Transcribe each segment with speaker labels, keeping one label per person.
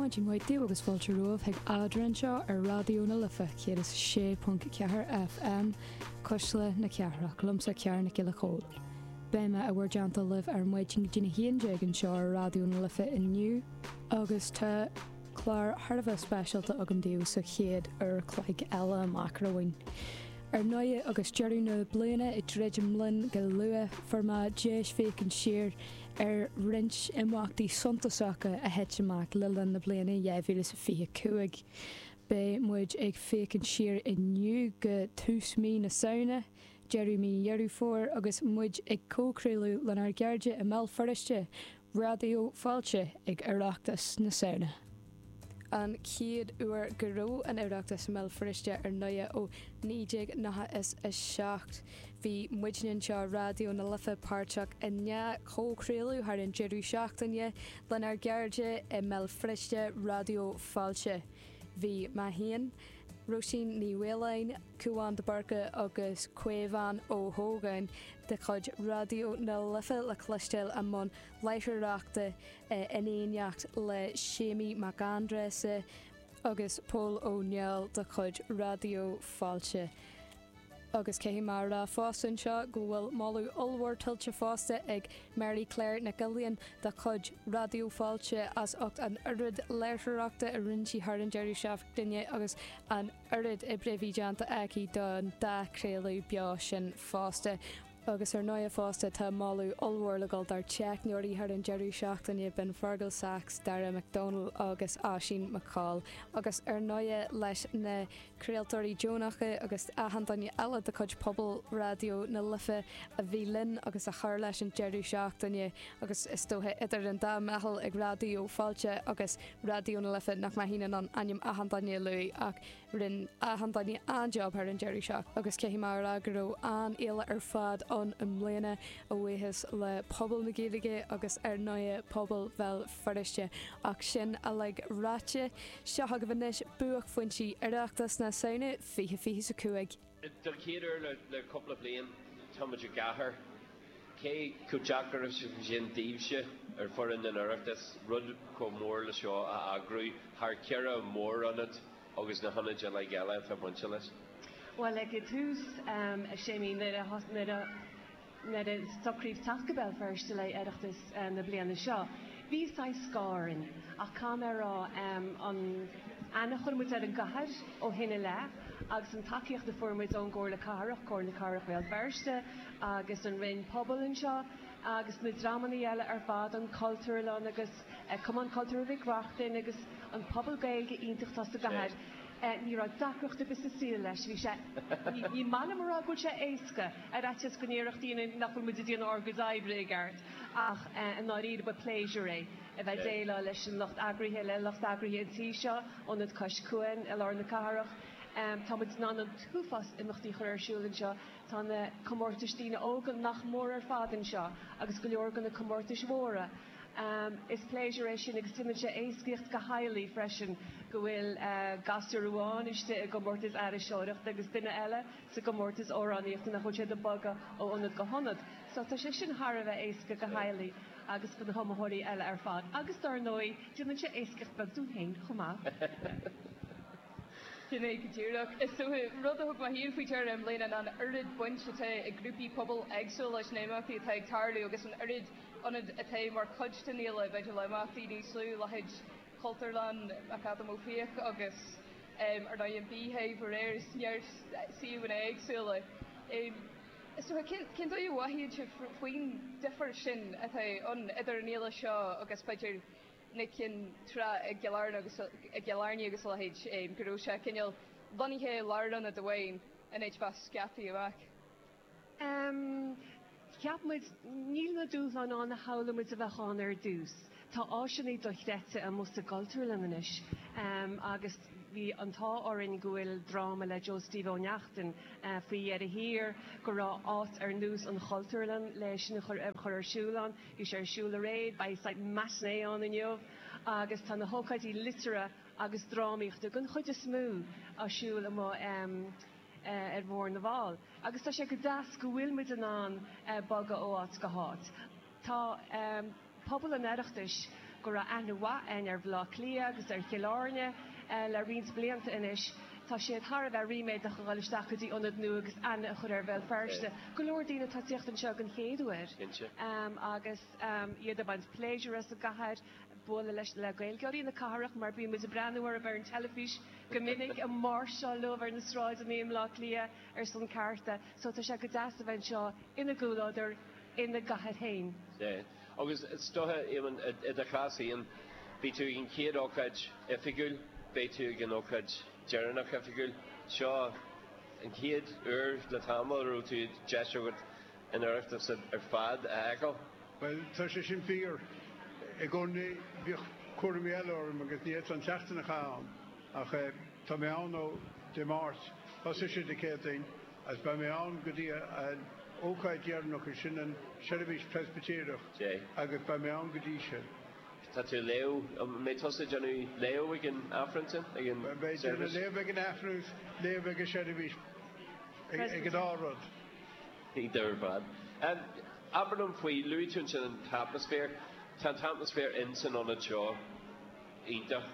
Speaker 1: Maidin mhaith daoibh agus fáilte romhaibh chuig Eadra anseo ar Raidió na Life 106.4 FM, Cuisle na Cathrach, liomsa Ciara Nic Giolla Chóill. Beidh mé i bhur dteannta libh ar maidin go dtí'n 11 anseo ar Raidió na Life inniu agus tá clár thar a bheith speisialta agam daoibh sa chéad uair chloig eile amach romhainn. Ar ndóigh, agus deireadh na bliana ag druidim linn go luath, fuair mé deis féachaint siar ar roinnt imeachtaí suntasacha a thit amach le linn na bliana 2025. Beidh muid ag féachaint siar inniu go tús mí na Samhna, deireadh mí Dheireadh Fómhair agus muid ag comhchraoladh lenár gcairde i mBéal Feirste, Raidió Fáilte ag Oireachtas na Samhna. An chéad uair go raibh an Oireachtas i mBéal Feirste ar ndóighe ó 1997. Bhí muidne anseo, Raidió na Life, páirteach i ndhá chomhchraoladh thar an deireadh seachtaine lenár gcairde i mBéal Feirste, Raidió Fáilte. Bhí mé féin, Róisín Ní Mhaoláin, Cúán de Búrca agus Caomhán Ó hÓgáin de chuid Raidió na Life le cloisteáil i mbun láithreoireachta in éineacht le Séimí Mac Aindreasa agus Pól Ó Néill de chuid Raidió Fáilte. Agus caithfidh mé a rá fosta anseo go bhfuil moladh ollmhór tuillte fosta ag Mary Claire Nic Uilliam de chuid Raidió Fáilte as ucht an oiread láithreoireachta a rinne sí thar an deireadh seachtaine agus an oiread oibre a bhí déanta aici don dá chraoladh beo sin fosta. Agus ar ndóighe fosta tá moladh ollmhór le dhul dár dteicneoirí thar an deireadh seachtaine, b'in Fergal Sachs, Dara McDonald agus Oisín McCall. Agus ar ndóighe leis na craoltóirí deonacha agus achan duine eile de chuid pobal Raidió na Life a bhí linn agus a chuir leis an deireadh seachtaine agus is dócha idir an dá mheitheal ag Raidió Fáilte agus Raidió na Life nach mbeinn in ann ainm achan duine a luaigh ach Rinne achan duine an-job thar an deireadh seachtaine agus caithfidh mé a rá go raibh an-fhéile ar fad ann i mbliana, a bhuíochas le pobal na Gaeilge agus ar ndóighe pobal Bhéal Feirste. Ach sin uilig ráite, seo chugaibh anois buaicphointí Oireachtas na Samhna 2025.
Speaker 2: Don chéad uair le cúpla bliain, tá muid i gcathair. Cé chomh deacair is a bhí sin daoibhse, ar foireann an Oireachtais, rud chomh mór le seo a eagrú thar cheithre mhórionad agus na hionaid uilig eile atá bainte leis?
Speaker 3: Bhuel, ag an tús, a Séimí, nuair a nuair a nuair a socraíodh teacht go Béal Feirste le Oireachtas na bliana seo, bhí saghas scáth orainn. Ach caithfidh mé a rá, an aithne a chuir muid ar an gcathair ó shin i leith agus an tacaíocht a fuair muid ón gComhairle Cathrach, Comhairle Cathrach Bhéal Feirste agus an Roinn Pobail anseo agus na dreamanna eile ar fad, an Cultúrlann agus Cumann Cultúrtha Mhic Reachtain agus an pobal Gaeilge iontach atá sa gcathair, ní raibh deacracht ar bith sa saol leis. Bhí sé, ní maith liom a rá go bhfuil sé éasca, ar fhaitíos go ndéarfadh daoine nach bhfuil muid ag déanamh ár gcuid oibre i gceart, ach i ndáiríre ba pléisiúr é a bheith ag déileáil leis an lucht eagraithe, le lucht eagraithe an tí seo, Ionad Cois Cuain i lár na cathrach. Tá muid in ann an t-uafás imeachtaí a chur ar siúl anseo. Tá na comórtais daoine óga nach mór ar fad anseo agus go leor de na comórtais mhóra. Is pléisiúr é sin agus déanann sé éascaíocht do theaghlaigh freisin go bhfuil gasúr amháin istigh i gcomórtas aithriseoireachta agus duine eile sa gcomórtas amhránaíochta nach bhfuil siad ag bogadh ó ionad go hionad. So tá sé sin thar a bheith éasca do theaghlaigh agus do na hiomaitheoirí eile ar fad. Agus dár ndóigh déanann sé éascaíocht beag dúinn féin chomh maith.
Speaker 4: Sin é go díreach. Is dócha, rud a thug mé féin faoi deara i mbliana ná an oiread baint atá ag grúpaí pobail éagsúla leis na himeachtaí atá ag tarlú agus an oiread ionad atá mar chuid den fhéile, b'fhéidir le himeachtaí níos lú, leithéid Chultúrlann McAdam Ó Fiaich agus ar ndóigh an Beehive aréir is neart suíomhanna éagsúla. Is dócha, cén dóigh a mhothaíonn sibh faoin difear sin atá ann idir an fhéile seo agus b'fhéidir na cinn tráth i gCill Airne agus i gCill Airne agus a leithéid, go raibh sé cineál lonnaithe i lárionad amháin in áit bheith scaipthe amach.
Speaker 3: Em, cheap muid, níl na dúshláin ann a shamhlaigh muid a bheadh ann ar dtús. Tá áiseanna dochreidte amuigh sa gCultúrlann anois, em, agus bhí an t-ádh orainn go bhfuil dráma le Joe Steve Ó Neachtain, eh, faoi dheireadh thiar, go raibh áit ar nós an Chultúrlann le sin a chur, a chur ar siúl ann. Bhí sé ar siúl aréir, beidh saghas matinee ann inniu agus tá na hócáidí liteartha agus drámaíochta den chuid is mó á siúl amuigh ar Bhóthar na bhFál. Agus tá sé go deas go bhfuil muid in ann bogadh ó áit go háit. Tá pobal an Oireachtais. go raibh aithne mhaith againn ar Bhaile Átha Cliath agus ar Chill Airne le roinnt blianta anois, tá siad thar a bheith ríméadach a dhul isteach go dtí ionad nua agus aithne a chur ar Bhéal Feirste. Go leor daoine atá ag tíocht anseo den chéad uair agus iad ag baint pléisiúr as an gcathair, bualadh leis le Gaeilgeoirí na cathrach mar bíonn muid ag breathnú orthu ar an teilifís go minic ag máirseáil leo ar na sráideanna i mBleá Cliath ar son cearta. So tá sé go deas a bheith anseo ina gcomhluadar ina gcathair féin.
Speaker 2: Sea. Agus is dócha, Éamonn, i do chás féin, bhí tú ag an chéad ócáid oifigiúil, beidh tú ag an ócáid deireanach oifigiúil. Seo an chéad uair le tamall a raibh tú deis agat an Oireachtas ar fad a fheiceáil.
Speaker 5: Bhuel, tá sé sin fíor. I gcónaí bhíodh cúraimí eile orm agus ní fhéadfá an tseachtain a chaitheamh ann. Ach tá mé ann ó Dé Máirt, thosaigh sé Dé Céadaoin, agus beidh mé ann go dtí an ócáid dheireanach, is sin an seirbhís Preispitéireach, agus beidh mé ann go dtí sin.
Speaker 2: Tá tú ag léamh, an mbeidh tusa ag déanamh léamh ag an Aifreann sin, ag an
Speaker 5: Beidh mé ag déanamh léamh ag an Aifreann agus léamh ag an seirbhís, ag an dá rud.
Speaker 2: Iontach ar fad. Abair liom faoi, luaigh tú ansin an t-atmaisféar, tá an t-atmaisféar in san ionad seo iontach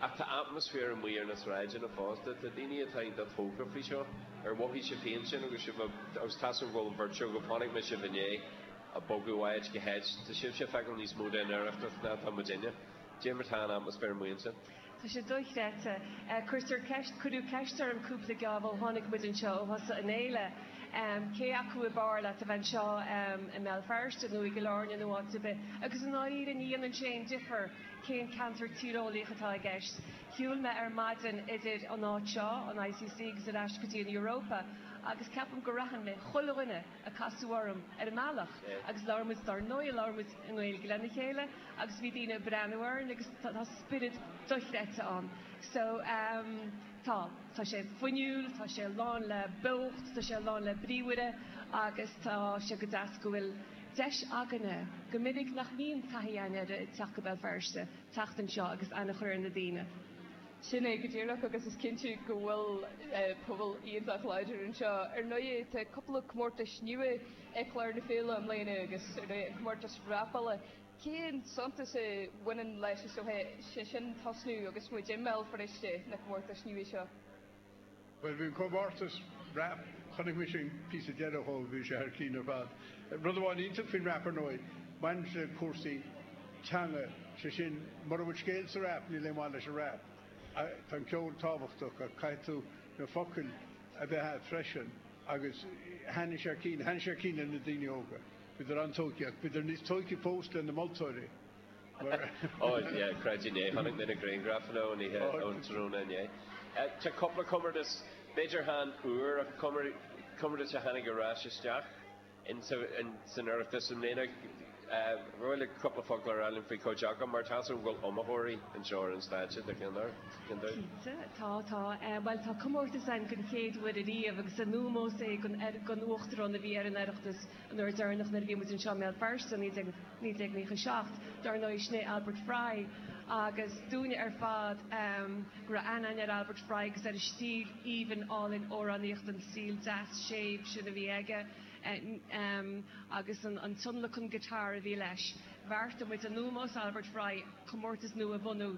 Speaker 2: ach tá atmaisféar amuigh ar na sráideanna fosta, tá daoine atá iontach tógtha faoi seo, ar mhothaigh sibh féin sin agus sibh agus tá's agam go bhfuil an bheirt agaibh, chonaic mé sibh inné ag bogadh ó áit go háit, tá sibhse ag feiceáil níos mó den Oireachtas ná atá muidinne. Cad é mar tá an atmaisféar amuigh ansin?
Speaker 3: Tá sé dochreidte. Cuirtear ceist, cuireadh ceist orm cúpla geábh ó tháinig muid anseo ó thosaigh an fhéile, cé acu ab fhearr leat a bheith anseo i mBéal Feirste nó i gCill Airne nó áit ar bith, agus i ndáiríre ní dhéanann sé aon difear cén ceantar tíreolaíoch atá i gceist. Shiúil mé ar maidin idir an áit seo, an ICC, agus ar ais go dtí an Europa agus ceapaim gur aithin mé chuile dhuine a casadh orm ar an mbealach agus labhair muid, dár ndóigh, labhair muid i nGaeilge lena chéile agus bhí daoine ag breathnú orainn agus tá spiorad dochreidte ann. So ehm tá, tá sé fuinniúil, tá sé lán le beocht, tá sé lán le bríomhaire agus tá sé go deas go bhfuil deis againne, go minic nach mbíonn taithí againn ar teacht go Béal Feirste, teacht anseo agus aithne a chur ar na daoine.
Speaker 4: Sin é go díreach agus is cinnte go bhfuil pobal iontach láidir anseo. Ar ndóigh tá cúpla comórtais nua ar chlár na féile i mbliana agus ar ndóigh an comórtas rapála. Cén suntas a bhaineann leis is dócha sé sin tosnú agus muid i mBéal Feirste na comórtais nua seo?
Speaker 5: Bhuel bhí an comórtas rap, chonaic mise an píosa deireadh dhó, bhí sé thar cinn ar fad. Rud amháin iontach faoin rap ar ndóigh, baineann sé le cúrsaí teanga, sé sin, mura bhfuil scéal sa rap níl aon mhaith leis an rap. Tá an ceol tábhachtach ach caithfidh tú na focail a bheith agat freisin agus thaitnigh sé thar cinn, thaitnigh sé thar cinn le na daoine óga. Bhíodar an-tógtha ach bhíodar níos tógtha fós le na moltóirí.
Speaker 2: Ó yeah, creid inné, chonaic mé na grianghrafanna ón oíche, ón tráthnóna inné. Tá cúpla comórtas, b'fhéidir chan úr ach comórtas a tháinig ar ais isteach in san Oireachtas i mbliana. Ar mhaith leat cúpla focal a rá linn faoi chuid acu mar tá's agam go bhfuil iomaitheoirí anseo ar an stáitse do cheann
Speaker 3: dóibh. Cinnte, tá, tá. Bhuel, tá comórtas ann den chéad uair ariamh agus in ómós é don Uachtarán a bhí ar an Oireachtas an uair deireanach nuair a bhí muid anseo i mBéal Feirste i 1997, dar ndóigh, sin é Albert Fry agus dúinne ar fad go raibh aithne againn ar Albert Fry agus ar a stíl aoibhinn álainn amhránaíochta, an stíl deas séimh sin a bhí aige agus an tionlacan guitar a bhí leis. Bheartaigh muid in ómós Albert Fry comórtas nua a bhunú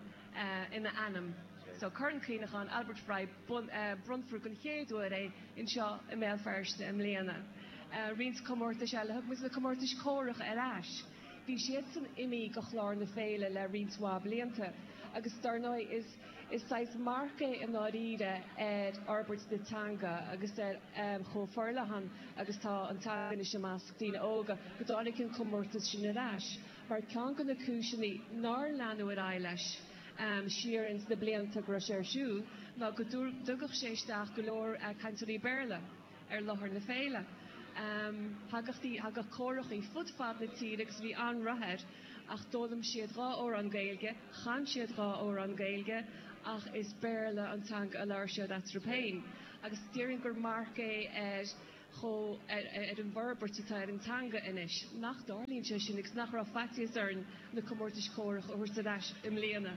Speaker 3: ina ainm. So Corn Cuimhneacháin Albert Fry, bronnfar den chéad uair é anseo i mBéal Feirste i mbliana. Roinnt comórtais eile, thug muid na comórtais córacha ar ais. Bhí siadsan imithe de chlár na féile le roinnt mhaith blianta agus dar ndóigh is is saghas marc é i ndáiríre ar fhorbairt na teanga agus ar chomh forleathan agus tá an teanga anois i measc daoine óga go dtáinig an comórtas sin ar ais mar ceann de na cúiseanna nár leanadh ar aghaidh leis siar ins na blianta go raibh sé ar siúl ná go dtugadh sé isteach go leor cainteoirí Béarla ar láthair na féile. Thagadh, thagadh córachaí fud fad na tíre agus bhí an-rath air ach d'fhoghlaim siad dhá amhrán Gaeilge, chan siad dhá amhrán Gaeilge ach is Béarla an teanga a labhair siad eatarthu féin. Agus déarfainn gur marc é ar chomh, ar an bhforbairt atá ar an teanga anois, nach dtarlaíonn sé sin agus nach raibh faitíos orainn na comórtais córach a thabhairt ar ais i mbliana.